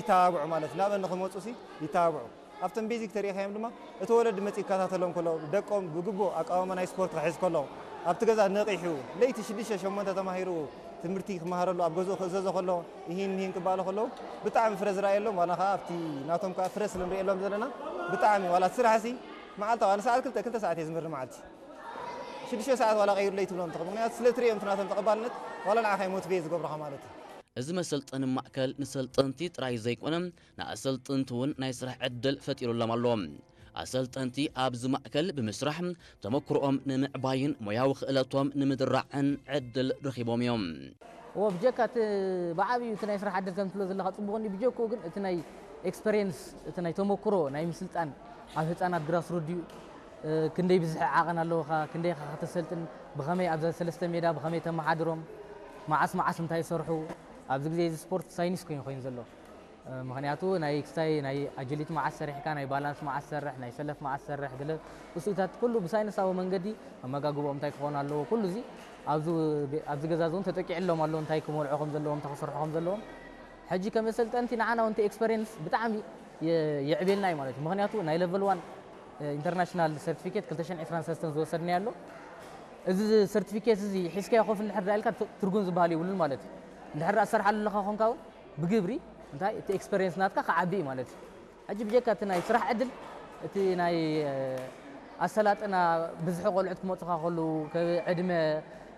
ይተባብዑ ማለት ናበ ንክመፁ ሲ ይተባብዑ። ኣብቶም ቤዚክ ተሪኢኻዮም ድማ እቲ ወለዲ መፂኡ ይከታተሎም ከሎ ደቆም ብግቡእ ኣቃውማ ናይ ስፖርት ክሕዝ ከሎ ኣብቲ ገዛ ነቒሑ ለይቲ ሽዱሽተ ሸሞንተ ተማሂሩ ትምህርቲ ክመሃረሉ ኣብ ገዝኡ ክእዘዞ ከሎ ይሂን ምሂን ክበሃሉ ከለዉ ብጣዕሚ ፍረ ዝረኣየሎም ዋላ ከዓ ኣብቲ ናቶም ከዓ ፍረ ስለ ንሪእየሎም ዘለና ብጣዕሚ ዋላ እቲ ስራሕ ሲ መዓልታዊ ኣነ ሰዓት ክልተ ክልተ ሰዓት እየ ዝምህር መዓልቲ ሽዱሽተ ሰዓት ዋላ ቀይሩለይ ትብሎም ትኽእል ምክንያቱ ስለ ትሪኦም እቲ ናቶም ተቐባልነት ዋላ ንዓኻ ሞቲቬት ዝገብሩኻ ማለት እዩ። እዚ መሰልጠኒ ማእከል ንሰልጠንቲ ጥራይ ዘይኮነ ንኣሰልጥንቲ እውን ናይ ስራሕ ዕድል ፈጢሩሎም ኣሎ። ኣሰልጠንቲ ኣብዚ ማእከል ብምስራሕ ተመክሮኦም ንምዕባይን ሞያዊ ክእለቶም ንምድራዕን ዕድል ረኺቦም እዮም። እዎ ብጀካ እቲ ብዓብዩ እቲ ናይ ስራሕ ዕድል ከም ትብሎ ዘለካ ፅቡቅ እንዲ ብጀክኡ ግን እቲ ናይ ኤክስፐሪየንስ እቲ ናይ ተመክሮ ናይ ምስልጣን ኣብ ህፃናት ግራስ ሩት ድዩ ክንደይ ብዝሒ ዓቐን ኣለውኻ፣ ክንደይ ኢኻ ከተሰልጥን፣ ብኸመይ ኣብዛ ሰለስተ ሜዳ ብኸመይ ተመሓድሮም፣ መዓስ መዓስ እንታይ ይሰርሑ፣ ኣብዚ ግዜ እዚ ስፖርት ሳይንስ ኮይኑ ኮይኑ ዘሎ። ምኽንያቱ ናይ ክስታይ ናይ ኣጅሊቲ መዓስ ሰሪሕካ፣ ናይ ባላንስ መዓስ ትሰርሕ፣ ናይ ሰለፍ መዓስ ትሰርሕ፣ ገለ እሱታት ኩሉ ብሳይንሳዊ መንገዲ ኣመጋግብኦም እንታይ ክኾኑ ኣለዎ፣ ኩሉ እዚ ኣብዚ ኣብዚ ገዛ እዚ እውን ተጠቂዕሎም ኣሎ፣ እንታይ ክመልዑ ከም ዘለዎም፣ እንታይ ክሰርሑ ከም ዘለዎም። ሕጂ ከም ኣሰልጠንቲ ንዓና እውን እቲ ኤክስፐሪየንስ ብጣዕሚ የዕቤልና እዩ ማለት እዩ። ምኽንያቱ ናይ ለቨል ዋን ኢንተርናሽናል ሰርቲፊኬት ክልተ ሽሕን ዕስራን ሰለስተን ዝወሰድናዮ ኣሎ። እዚ ሰርቲፊኬት እዚ ሒዝካዮ ኮፍ እንድሕር ዳ ኢልካ ትርጉም ዝበሃል የብሉን ማለት እዩ። እንድሕር ዳ ትሰርሓሉ ኣለኻ ኮንካ እውን ብግብሪ እንታይ እቲ ኤክስፐሪየንስ ናትካ ክዓቢ እዩ ማለት እዩ። ሕጂ ብጀካ እቲ ናይ ስራሕ ዕድል እቲ ናይ ኣሰላጥና ብዝሒ ቆልዑት ክመፁኻ ከለዉ ዕድመ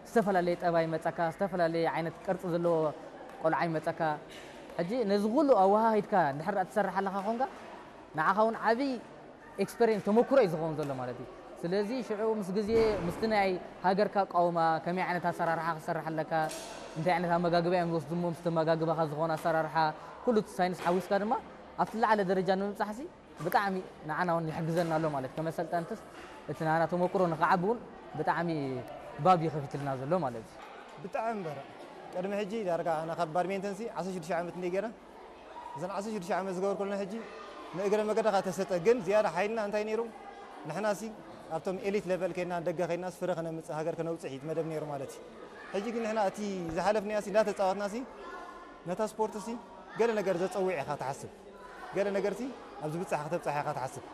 ዝተፈላለየ ጠባይ ይመፀካ፣ ዝተፈላለየ ዓይነት ቅርፂ ዘለዎ ቆልዓ ይመፀካ። ሕጂ ነዚ ኩሉ ኣወሃሂድካ እንድሕር ዳ ትሰርሕ ኣለኻ ኮንካ ንዓኻ እውን ዓብይ ኤክስፐሪየንስ ተመክሮ እዩ ዝኸውን ዘሎ ማለት እዩ። ስለዚ ሽዑ ምስ ግዜ ምስቲ ናይ ሃገርካ ኣቃውማ ከመይ ዓይነት ኣሰራርሓ ክሰርሕ ኣለካ፣ እንታይ ዓይነት ኣመጋግባ እዮም ዝወስዱ እሞ ምስቲ ኣመጋግባኻ ዝኾነ ኣሰራርሓ ኩሉ እቲ ሳይንስ ሓዊስካ ድማ ኣብቲ ዝለዓለ ደረጃ ንምብፃሕሲ ብጣዕሚ ንዓና እውን ይሕግዘና ኣሎ ማለት ከም ኣሰልጠንትስ እቲ ናና ተመክሮ ንኽዓቢ እውን ብጣዕሚ ባብ እዩ ከፊትልና ዘሎ ማለት እዩ። ብጣዕሚ በረ ቅድሚ ሕጂ ዳርጋ ኣነ ካብ ባድሜንተንሲ ዓሰርተ ሽዱሽተ ዓመት እንደ ገይረ እዘን ዓሰርተ ሽዱሽተ ዓመት ዝገበርኩለን ሕጂ ንእግረ መገድኻ ተሰጠ ግን ዝያዳ ሓይልና እንታይ ነይሩ ንሕና ሲ ኣብቶም ኤሊት ለቨል ከይድና ደገ ከይድናስ ፍረ ከነምፅእ ሃገር ከነውፅእ እዩ መደብ ነይሩ ማለት እዩ ሕጂ ግን ንሕና እቲ ዝሓለፍናዮ ሲ እንዳተፃወትና ሲ ነታ ስፖርት ሲ ገለ ነገር ዘፀውዕ ኢኻ ትሓስብ ገለ ነገር ሲ ኣብ ዝብፃሕ ከተብፃሕ ኢኻ ትሓስብ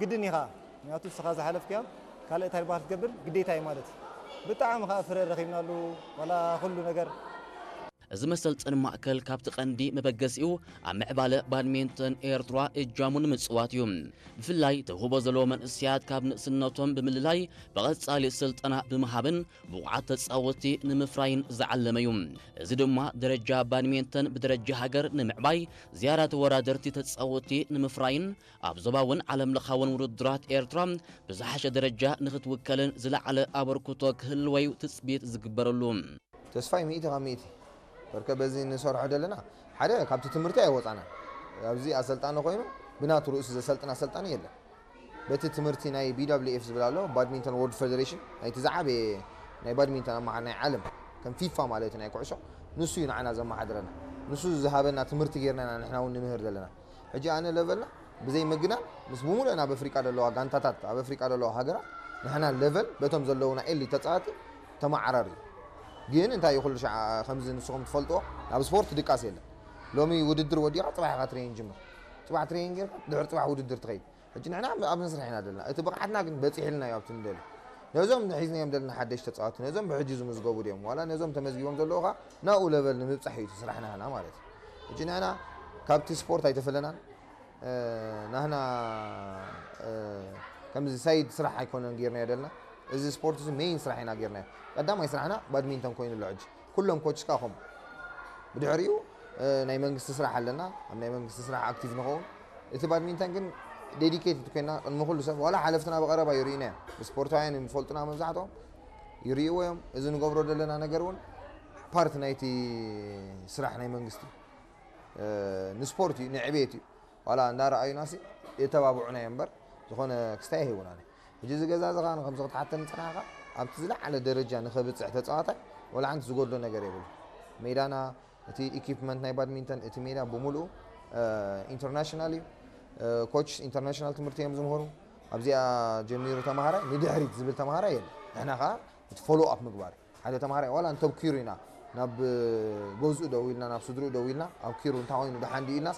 ግድን ኢኻ ምክንያቱ ንስኻ ዝሓለፍክያ ካልእ እንታይ ባር ትገብር ግዴታ እዩ ማለት እዩ ብጣዕሚ ከዓ ፍረ ረኺብናሉ ዋላ ኩሉ ነገር እዚ መሰልጠኒ ማእከል ካብቲ ቀንዲ መበገሲኡ ኣብ ምዕባለ ባድሜንተን ኤርትራ እጃሙ ንምጽዋት እዩ። ብፍላይ ተውህቦ ዘለዎ መንእስያት ካብ ንእስነቶም ብምልላይ ብቐጻሊ ስልጠና ብምሃብን ብቑዓት ተጻወቲ ንምፍራይን ዝዓለመ እዩ። እዚ ድማ ደረጃ ባድሜንተን ብደረጃ ሃገር ንምዕባይ ዝያዳ ተወዳደርቲ ተጻወቲ ንምፍራይን ኣብ ዞባውን ዓለምለኻውን ውድድራት ኤርትራ ብዝሓሸ ደረጃ ንክትውከልን ዝለዓለ ኣበርክቶ ክህልወዩ ትጽቢት ዝግበረሉ። ተስፋይ ሚእቲ ካብ ሚእቲ በርከ በዚ ንሰርሖ ዘለና ሓደ ካብቲ ትምህርቲ ኣይወፃና ኣብዚ ኣሰልጣኒ ኮይኑ ብናቱ ርእሱ ዘሰልጥን ኣሰልጣኒ የለን በቲ ትምህርቲ ናይ BWF ዝብል ኣሎ ባድሚንተን ወርልድ ፌደሬሽን ናይቲ ዝዓበየ ናይ ባድሚንተን ኣማሓር ናይ ዓለም ከም ፊፋ ማለት ናይ ኩዕሾ ንሱ እዩ ንዓና ዘመሓድረና ንሱ ዝሃበና ትምህርቲ ጌርና ኢና ንሕና እውን ንምህር ዘለና ሕጂ ኣነ ለቨልና ብዘይ ምግናን ምስ ብምሉአን ኣብ ኣፍሪቃ ዘለዋ ጋንታታት ኣብ ኣፍሪቃ ዘለዋ ሃገራት ንሕና ለቨል በቶም ዘለውና ኤሊት ተፃወቲ ተመዓራሪ ግን እንታይ እዩ ኩሉ ሻዕ ከምዚ ንስኹም ትፈልጥዎ ኣብ ስፖርት ድቃስ የለን ሎሚ ውድድር ወዲኻ ፅባሕ ኢኻ ትሬኒን ጅምር ፅባሕ ትሬኒን ጌርካ ድሕሪ ፅባሕ ውድድር ትኸይድ ሕጂ ንሕና ኣብ መስርሕ ኢና ዘለና እቲ ብቕዓትና ግን በፂሕልና እዩ ኣብቲ ንደልዮ ነዞም ሒዝናዮም ዘለና ሓደሽ ተፃወቲ ነዞም ብሕጂ ዝምዝገቡ ድዮም ዋላ ነዞም ተመዝጊቦም ዘለዉ ኸ ናብኡ ለቨል ንምብፃሕ እዩ እቲ ስራሕና ህና ማለት እዩ ሕጂ ንሕና ካብቲ ስፖርት ኣይተፈለናን ናህና ከምዚ ሳይድ ስራሕ ኣይኮነን ጌርናዮ ደልና እዚ ስፖርት እዚ ሜይን ስራሕ ኢና ጌርናዮ ቀዳማይ ስራሕና ባድሚንተን ኮይኑ ኣሎ ሕጂ ኩሎም ኮችካ ኹም ብድሕሪኡ ናይ መንግስቲ ስራሕ ኣለና ኣብ ናይ መንግስቲ ስራሕ ኣክቲቭ ንኸውን እቲ ባድሚንተን ግን ዴዲኬትድ ኮይና ቅድሚ ኩሉ ሰብ ዋላ ሓለፍትና ብቀረባ ይርእዩና እዮም ስፖርታውያን እዮም ዝፈልጡና መብዛሕትኦም ይርእይዎ እዮም እዚ ንገብሮ ዘለና ነገር እውን ፓርት ናይቲ ስራሕ ናይ መንግስቲ ንስፖርት እዩ ንዕቤት እዩ ዋላ እንዳረኣዩና ሲ የተባብዑና እዮም እምበር ዝኾነ ክስታይ ኣይህቡና ሕጂ እዚ ገዛ እዚ ከዓ ንከምዚ ክትሓተኒ ፅናሕካ ኣብቲ ዝለዓለ ደረጃ ንኸብፅሕ ተፃዋታይ ወላ ሓንቲ ዝጎድሎ ነገር የብሉ ሜዳና እቲ ኢኪፕመንት ናይ ባድሚንተን እቲ ሜዳ ብምሉኡ ኢንተርናሽናል እዩ ኮች ኢንተርናሽናል ትምህርቲ እዮም ዝምህሩ ኣብዚኣ ጀሚሩ ተምሃራይ ንድሕሪት ዝብል ተምሃራይ የለ ንሕና ከዓ እቲ ፎሎ ኣፕ ምግባር ሓደ ተምሃራይ ዋላ እንተብኪሩ ኢና ናብ ገዝኡ ደው ኢልና ናብ ስድርኡ ደው ኢልና ኣብኪሩ እንታይ ኮይኑ ደሓን ድዩ ኢልናስ